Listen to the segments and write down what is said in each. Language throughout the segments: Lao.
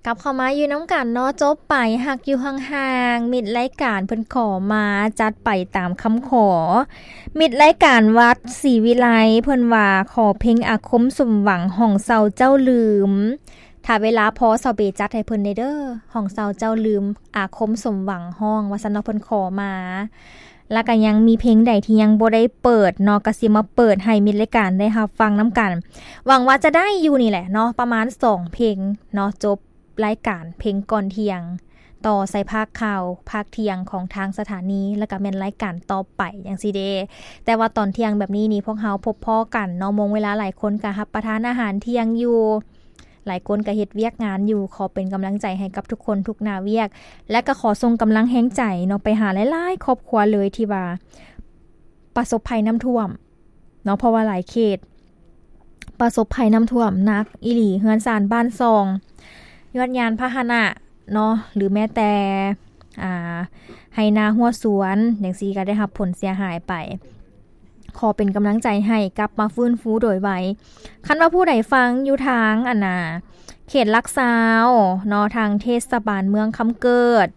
ກັບເຂົ້າມາຢູ່ນຳກັນເນາະ ຈົບໄປຮັກຢູ່ຫ່າງໆ ມິດລາຍການເພິ່ນຂໍມາ ຈັດໄປຕາມຄຳຂໍ. ມິດລາຍການວັດສີວິໄລ ເພິ່ນວ່າຂໍເພງອາຄົມສົມຫວັງ ຫ້ອງເຊົາເຈົ້າລືມ. ຖ້າເວລາພໍ ສາວເບຈັດໃຫ້ເພິ່ນແດ່ເດີ ຫ້ອງເຊົາເຈົ້າລືມ ອາຄົມສົມຫວັງຮ້ອງ ວ່າຊັ້ນເນາະ ເພິ່ນຂໍມາ. ແລ້ວກໍຍັງມີເພງໃດທີ່ຍັງບໍ່ໄດ້ເປີດເນາະ ກໍຊິມາເປີດໃຫ້ມິດລາຍການໄດ້ຮັບຟັງນຳກັນ. ຫວັງວ່າຈະໄດ້ຢູ່ນີ້ແຫຼະເນາະ ປະມານສອງເພງເນາະ ຈົບລາຍການເພງກ່ອນທ່ຽງ ຕໍ່ໃສ່ພາກຂ່າວພາກທ່ຽງຂອງທາງສະຖານີ ແລ້ວກໍແມ່ນລາຍການຕໍ່ໄປຈັ່ງຊີ້ເດ. ແຕ່ວ່າຕອນທ່ຽງແບບນີ້ນີ້ ພວກເຮົາພົບພໍ້ກັນເນາະ ໂມງເວລາຫຼາຍຄົນກໍຮັບປະທານອາຫານທ່ຽງຢູ່ ຫຼາຍຄົນກໍເຮັດວຽກງານຢູ່. ຂໍເປັນກຳລັງໃຈໃຫ້ກັບທຸກຄົນທຸກໜ້າວຽກ ແລະກໍຂໍສົ່ງກຳລັງແຮງໃຈເນາະ ໄປຫາຫຼາຍໆຄອບຄົວເລີຍທີ່ວ່າປະສົບໄພນ້ຳຖ້ວມເນາະ ເພາະວ່າຫຼາຍເຂດປະສົບໄພນ້ຳຖ້ວມໜັກອີ່ຫຼີ ເຮືອນຊານບ້ານຊ່ອງ ຍວດຍານພາຫະນະເນາະ ຫຼືແມ້ແຕ່ ອ່າ ໄຮ່ນາຮົ້ວສວນຈັ່ງຊີ້ ກໍໄດ້ຮັບຜົນເສຍຫາຍໄປ. ຂໍເປັນກຳລັງໃຈໃຫ້ກັບມາຟື້ນຟູໂດຍໄວ. ຄັນວ່າຜູ້ໃດຟັງຢູ່ທາງ ອັນນ່າ ເຂດຫຼັກຊາວເນາະ ທາງເທດສະບານເມືອງຄຳເກີດ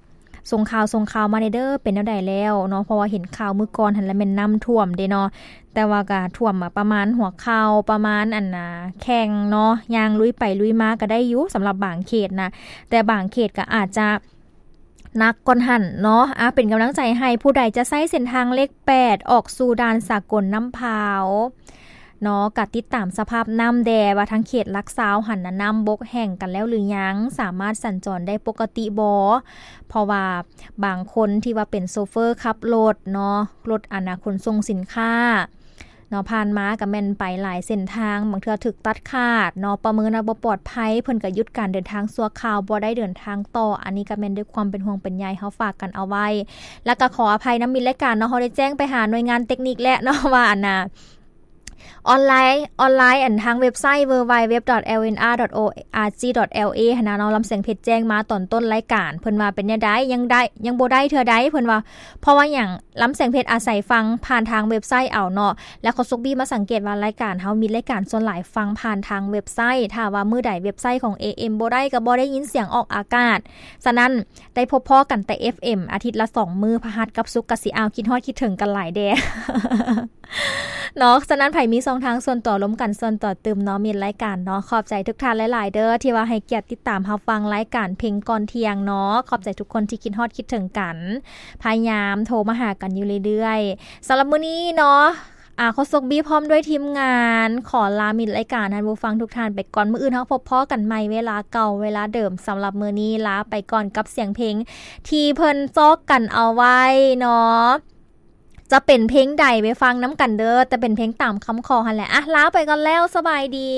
ສົ່ງຂ່າວ ສົ່ງຂ່າວມາແດ່ເດີ ເປັນແນວໃດແລ້ວເນາະ ເພາະວ່າເຫັນຂ່າວມື້ກ່ອນຫັ້ນລະແມ່ນນ້ຳຖ້ວມເດ້ເນາະ ແຕ່ວ່າກໍຖ້ວມປະມານຫົວເຂົ່າ ປະມານ ອັນນ່າ ແຂ້ງເນາະ ຍ່າງລຸຍໄປລຸຍມາກໍໄດ້ຢູ່ ສຳລັບບາງເຂດນະ ແຕ່ບາງເຂດກໍອາດຈະ ໜັກກ່ອນຫັ້ນເນາະ. ອາ ເປັນກຳລັງໃຈໃຫ້ຜູ້ໃດຈະໃຊ້ເສັ້ນທາງເລກແປດ ອອກສູ່ດ່ານສາກົນນ້ຳພາວເນາະ ກະຕິດຕາມສະພາບນ້ຳແດ່ ວ່າທາງເຂດຫຼັກຊາວຫັ້ນນະ ນ້ຳບົກແຫ້ງກັນແລ້ວຫຼືຍັງ ສາມາດສັນຈອນໄດ້ປົກກະຕິບໍ່? ເພາະວ່າບາງຄົນທີ່ວ່າເປັນໂຊເຟີຂັບລົດເນາະ ລົດ ອັນນ່າ ຂົນສົ່ງສິນຄ້າ ເນາະ ຜ່ານມາກໍແມ່ນໄປຫຼາຍເສັ້ນທາງ ບາງເທື່ອຖືກຕັດຂາດເນາະ ປະເມີນວ່າບໍ່ປອດໄພ ເພິ່ນກໍຢຸດການເດີນທາງຊົ່ວຄາວ ບໍ່ໄດ້ເດີນທາງຕໍ່. ອັນນີ້ກໍແມ່ນດ້ວຍຄວາມເປັນຫ່ວງເປັນໃຍ ເຮົາຝາກກັນເອົາໄວ້ ແລ້ວກໍຂໍອະໄພນຳມິດລາຍການເນາະ ເຮົາໄດ້ແຈ້ງໄປຫາໜ່ວຍງານເຕັກນິກແລ້ວເນາະ ວ່າ ອັນນ່າ ອອນລາຍ ອອນລາຍ ອັນ ທາງເວັບໄຊ www.lnr.org.la ຫັ້ນນະເນາະ ລຳສຽງເພັດແຈ້ງມາຕອນຕົ້ນລາຍການ ເພິ່ນວ່າເປັນແນວໃດ ຍັງໄດ້ ຍັງບໍ່ໄດ້ເທື່ອໃດ ເພິ່ນວ່າ ເພາະວ່າຫຍັງ ລຳສຽງເພັດອາໄສຟັງຜ່ານທາງເວັບໄຊເອົາເນາະ ແລ້ວໂຄສົກບີມາສັງເກດວ່າລາຍການເຮົາມີລາຍການສ່ວນຫຼາຍຟັງຜ່ານທາງເວັບໄຊ ຖ້າວ່າມື້ໃດເວັບໄຊຂອງ ເອເອັມ ບໍ່ໄດ້ ກໍບໍ່ໄດ້ຍິນສຽງອອກອາກາດ. ສະນັ້ນ ໄດ້ພົບພໍ້ກັນແຕ່ ເອັຟເອັມ ອາທິດລະສອງມື້ ພະຫັດກັບສຸກ ກະຊິ ອ້າວ ຄິດຮອດຄິດເຖິງກັນຫຼາຍແດ່ ເນາະ. ສະນັ້ນໃຜມີຊ່ອງທາງສ່ວນຕົວ ລົມກັນສ່ວນຕົວຕື່ມເນາະ ມິດລາຍການເນາະ ຂອບໃຈທຸກທ່ານຫຼາຍໆເດີ ທີ່ວ່າໃຫ້ກຽດຕິດຕາມຮັບຟັງລາຍການເພງກ່ອນທ່ຽງເນາະ. ຂອບໃຈທຸກຄົນທີ່ຄິດຮອດຄິດເຖິງກັນ ພະຍາຍາມໂທມາຫາກັນຢູ່ເລື້ອຍໆ. ສຳລັບມື້ນີ້ເນາະ ອາ ໂຄສົກບີພ້ອມດ້ວຍທີມງານ ຂໍລາມິດລາຍການທ່ານຜູ້ຟັງທຸກທ່ານໄປກ່ອນ. ມື້ອື່ນເຮົາພົບພໍ້ກັນໃໝ່ເວລາເກົ່າເວລາເດີມ. ສຳລັບມື້ນີ້ລາໄປກ່ອນກັບສຽງເພງທີ່ເພິ່ນຊອກກັນເອົາໄວ້ເນາະ. ຈະເປັນເພງໃດໄປຟັງນຳກັນເດີ ແຕ່ເປັນເພງຕາມຄຳຂໍຫັ້ນແຫຼະ. ອາ ລາໄປກ່ອນແລ້ວ ສະບາຍດີ.